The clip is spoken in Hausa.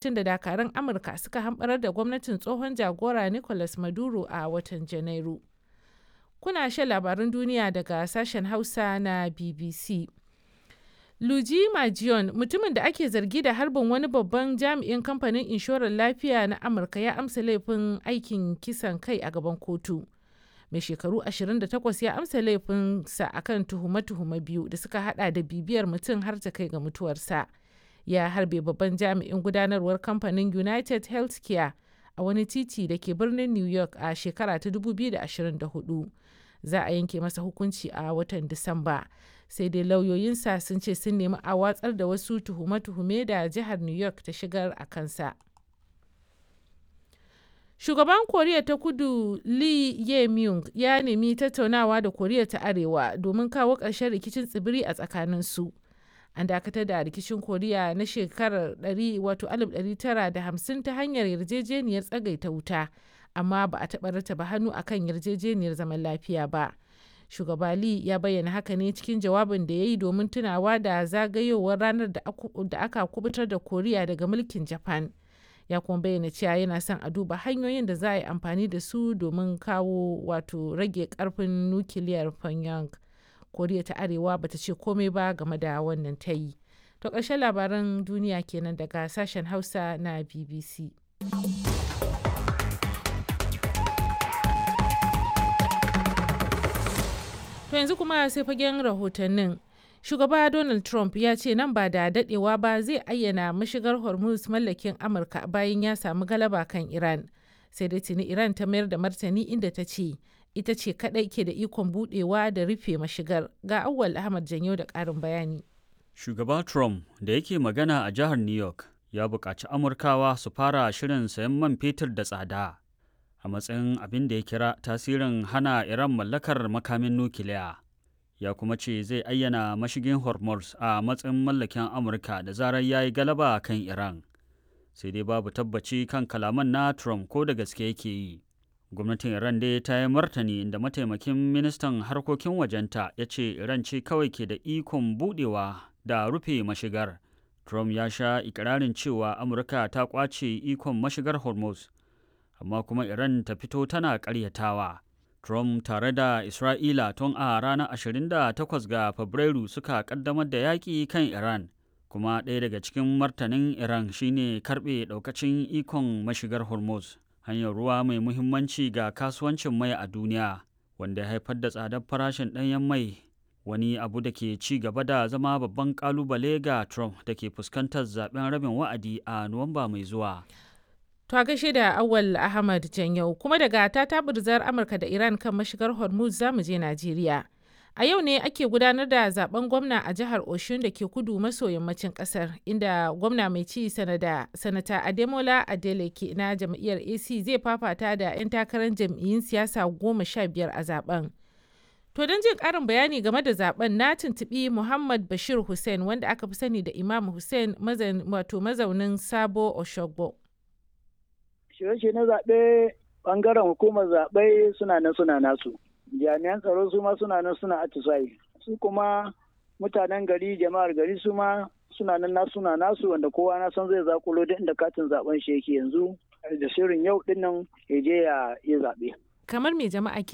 Da dakarun Amurka suka hamɓarar da gwamnatin tsohon jagora Nicolas Maduro a watan Janairu. Kuna shan labarun duniya daga sashen Hausa na BBC. Luigi Mangione, mutumin da ake zargi da harbin wani babban jami'in kamfanin inshorar lafiya na Amurka ya amsa laifin aikin kisan kai a gaban kotu. Mai shekaru 28 ya amsa laifinsa akan tuhume-tuhume biyu da suka hada da bibiyar mutum har ta kai ga mutuwarsa. Ya harbe babban jami'in gudanarwar kamfanin United Healthcare a wani titi da ke birnin New York a shekara ta 2024. Za a yanke masa hukunci a watan Disamba. Sai dai lauyoyinsa sun ce sun nemi a watsar da wasu tuhume-tuhume da jihar New York ta shigar a kansa. Shugaban Koriya ta Kudu Lee Jae-myung ya nemi tattaunawa da Koriya ta Arewa domin kawo ƙarshen rikicin tsibiri a tsakaninsu. An dakatar da rikicin Koriya na shekarar 1950 ta hanyar yarjejeniyar tsagaita wuta, amma ba a taɓa rattaba hannu akan yarjejeniyar zaman lafiya ba. Shugaba Lee ya bayyana haka ne cikin jawabin da ya yi domin tunawa da zagayowar ranar da aka kubutar da Koriya daga mulkin Japan. Ya kuma bayyana cewa yana son a duba hanyoyin da za a yi amfani da su domin kawo wato rage karfin nukiliyar Pyongyang. Koriya ta Arewa bata ce komai ba game da wannan tayi. To ƙarshen labaran duniya kenan daga sashen Hausa na BBC. To yanzu kuma sai fagen rahotannin. Shugaba Donald Trump ya ce nan ba da dadewa ba zai ayyana mashigar Hormuz mallakin Amurka bayan ya samu galaba kan Iran. Sai dai tuni Iran ta mayar da martani inda ta ce ita ce kadai ke da ikon budewa da rufe mashigar. Ga Auwal Ahmad Janyo da karin bayani. Shugaba Trump da yake magana a jihar New York ya buƙaci Amurkawa su fara shirin sayan man fetur da tsada a matsayin abin da ya kira tasirin hana Iran mallakar makamin nukiliya. Ya kuma ce zai ayyana mashigin Hormuz a matsayin mallakin Amurka da zarar ya yi galaba kan Iran. Sai dai babu tabbaci kan kalaman na Trump ko da gaske yake yi. Gwamnatin Iran dai ta yi martani inda mataimakin ministan harkokin wajenta ya ce Iran ce kawai ke da ikon budewa da rufe mashigar. Trump ya sha ikirarin cewa Amurka ta kwace ikon mashigar Hormuz, amma kuma Iran ta fito tana karyatawa. Trump tare da Isra'ila tun a ranar 28 ga Fabrairu suka kaddamar da yaƙi kan Iran, kuma ɗaya daga cikin martanin Iran shine karɓe ɗaukacin ikon mashigar Hormuz, hanyar ruwa mai muhimmanci ga kasuwancin mai a duniya, wanda ya haifar da tsadar farashin ɗanyen mai, wani abu da ke ci gaba da zama babban ƙalubale ga Trump da ke fuskantar zaben rabin wa'adi a Nuwamba mai zuwa. To a gaishe da Awal Ahmad Janyau kuma daga tatabirzar Amurka da Iran kan mashigar Hormuz zamu je Najeriya. A yau ne ake gudanar da zaben gwamna a jihar Oshun da ke kudu maso yammacin kasar, inda gwamna mai ci sanata Ademola Adeleke na jam'iyyar AC zai fafata da 'yan takarar jam'iyyun siyasa 15 a zaben. To don jin ƙarin bayani game da zaben na tuntuɓi Muhammad Bashir Hussein, wanda aka fi sani da Imam Hussein, wato mazaunin Sabo Oshogbo. Shirye na zaɓe, ɓangaren hukumar zaɓe suna nan suna nasu, jami'an tsaro su ma suna nan suna atisayi, su kuma mutanen gari, jama'ar gari su ma suna nan nasu suna nasu, wanda kowa na san zai zakulo duk inda katin zaɓen shi yake yanzu da shirin yau dinnan ya je ya yi zaɓe. Kamar me jama'a ke